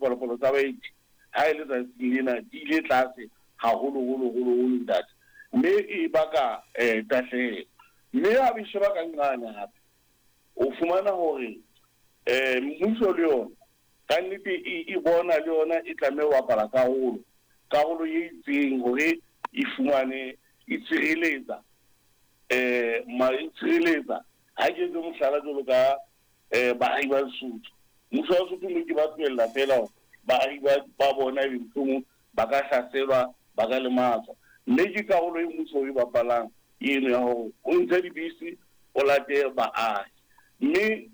dipalopalo tsa baeti ha e le tsatsing lena di ile tlase haholo holo holo holo ntate, mme e baka tahlehelo. Mme ha be sheba ka nqane hape o fumana hore mmuso le yona ka nnete e bona le yona e tlameha ho bapala karolo e itseng hore e fumane e tshireletsa e tshireletsa. Ha ke etse mohlala jwalo ka baahi ba Lesotho, mmuso wa Lesotho mme ke ba tlohella feela hore baahi ba bona ebe mohlomong ba ka hlaselwa, ba ka lematswa. Mme ke karolo e mmuso e bapalang eno ya hore o ntshe dibese o late baahi. Mme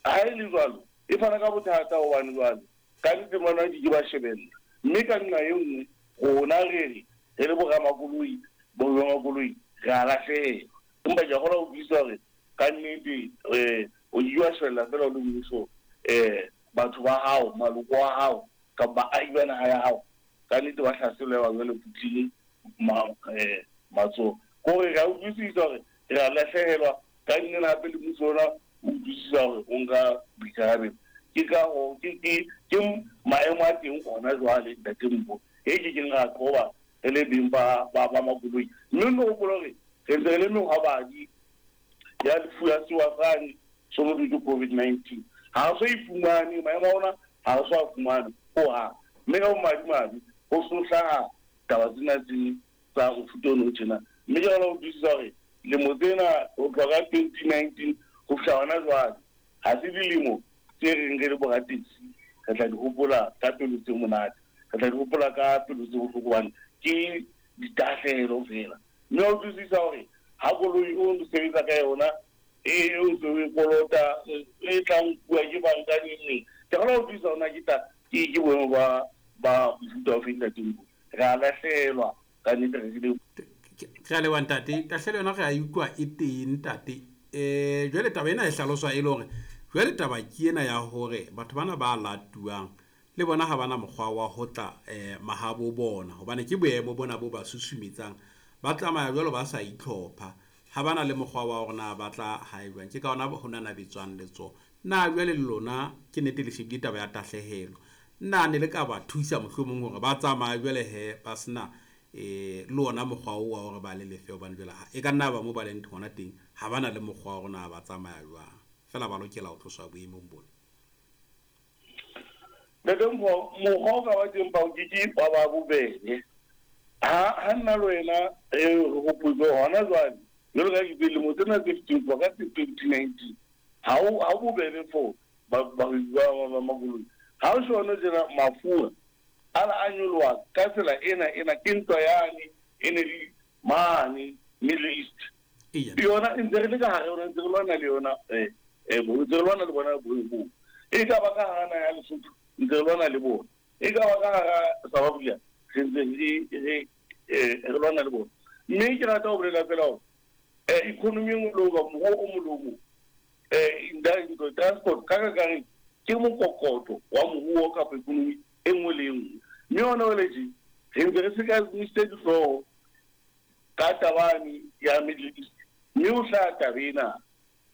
ha e le jwalo e fana ka bothata hobane jwale ka nnete bana di ke ba shebella. Mme ka nqa e nngwe rona re re le boramakoloi, boramakoloi re a lahlehelwa. Empa ke a kgona ho utlwisisa hore ka nnete o ke wa shebella feela o le mmuso batho ba hao, maloko a hao kapa baahi ba naha ya hao ka nnete ba hlaselwa ba jwale phuthile matsoho. Ke hore re a utlwisisa hore re a lahlehelwa ka nnete hape le mmuso ona o utlwisisa hore o nka boikarabelo. Ke ka ho ke maemo a teng hona jwale ntate Mpho, e ke keng ra qoba re le beng ba makoloi. Mme nno hopola hore re ntse re le mehwabadi ya lefu ya sewa sane se ho thweng ke COVID-19. Ha re so e fumane, maemo a rona ha re so a fumane hohang. Mme ka bomadimabe ho so hlaha taba tsena tse tsa mofuta ono o tjena. Mme ke kgona ho utlwisisa hore lemo tsena ho tloha ka 2019 ho fihla hona jwale ha se dilemo tse reng re le borataxi re tla di hopola ka pelo tse monate, re tla di hopola ka pelo tse bohloko hobane ke ditahlehelo feela. Mme wa utlwisisa hore ha koloi o ntso sebetsa ka yona e o ntso e kolota e tla nkuwa ke banka neng neng. Ke kgona ho utlwisisa hore na ke boemo ba mofuta o feng ntate Mpho. Re a lahlehelwa ka nnete re le Re a leboha ntate. Tahlehelo yona re a e utlwa e teng ntate. Jwale taba ena e hlaloswa e le hore jwale taba ke ena ya hore batho bana ba latuwang le bona ha bana mokgwa wa ho tla mahabo bona, hobane ke boemo bona bo ba susumetsang, ba tsamaya jwalo ba sa itlhopha, ha bana le mokgwa wa hore na ba tla hae jwang. Ke ka hona ho nanabetswang letsoho. Na jwale le lona ke nnete le shebile taba ya tahlehelo, na ne le ka ba thusa mohlomong hore ba tsamaye jwale he ba sena le ona mokgwa oo wa hore ba le lefe, hobane jwale e ka nna ba mo ba leng hona teng ha bana le mokgwa wa hore na ba tsamaya jwang, feela ba lokela ho tloswa boemong bona. Ntate Mpho, mokgwa o ka ba teng ba o ke ke wa ba bobebe. Ha nna le wena re hopotse hona jwale jwalo ka dilemo tsena tse fetileng tloha ka 2019 ha o bobebe for bahwebi ba makoloi. Ha o shona tjena mafura ana a nyoloha ka tsela ena ke ntwa yane e ne le mane Middle East. Yona e ntse re le ka hare yona, ntse re lwana le yona ntse re lwana le bona boemo. E ka ba ka hara naha ya Lesotho ntse re lwana le bona, e ka ba ka hara South Africa re ntse re lwana le bona. Mme ke rata ho bolela feela hore economy e nngwe le o moruo o mong le o mong transport ka kakaretso ke mokokotlo wa moruo kapa economy e nngwe le e nngwe. Mme hona jwale tje re ntse re sekasekile dihlooho ka tabane ya Middle East, mme ho hlaha taba ena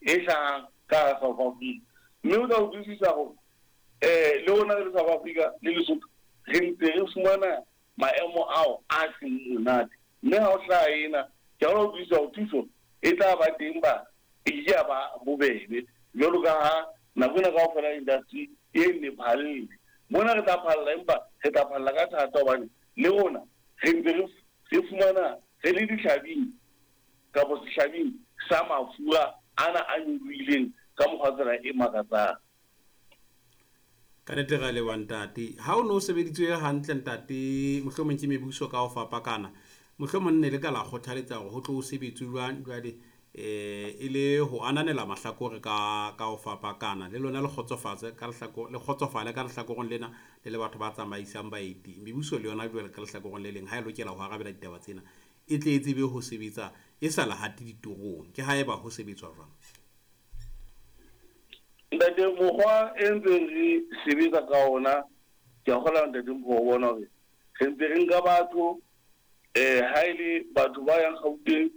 e hlahang ka hara South Africa. Mme o tla utlwisisa hore le rona re le South Africa le Lesotho re ntse re fumana maemo ao a seng monate. Mme ha o hlaha ena ke a utlwisisa hore thuso e tla ba teng ba e ke ya ba bobebe jwalo ka ha nako ena kaofela industry e nne phalle. Mona re tla phalla, empa re tla phalla ka thata hobane le rona re ntse re fumana re le dihlabing kapa sehlabing sa mafura ana a nyolohileng ka mokgwa tsela e makatsang. Ka nnete re a leboha ntate. Ha o no sebeditswe hantle ntate, mohlomong ke mebuso ka ho fapakana, mohlomong ne le ka la kgothaletsa hore ho tlo sebetswe jwang jwale e le ho ananela mahlakore ka ho fapakana, le lona le kgotsofatse ka lehlakore, le kgotsofale ka lehlakoreng lena le le batho ba tsamaisang baeti. Mebuso le yona jwale ka lehlakoreng le leng ha e lokela ho arabela ditaba tsena e tle e tsebe ho sebetsa e sa lahate ditorong. Ke haeba ho sebetswa jwang? Ntate, mokgwa e ntseng re sebetsa ka ona ke a kgolwa ntate Mpho ho bona hore re ntse re nka batho ha e le batho ba yang Gauteng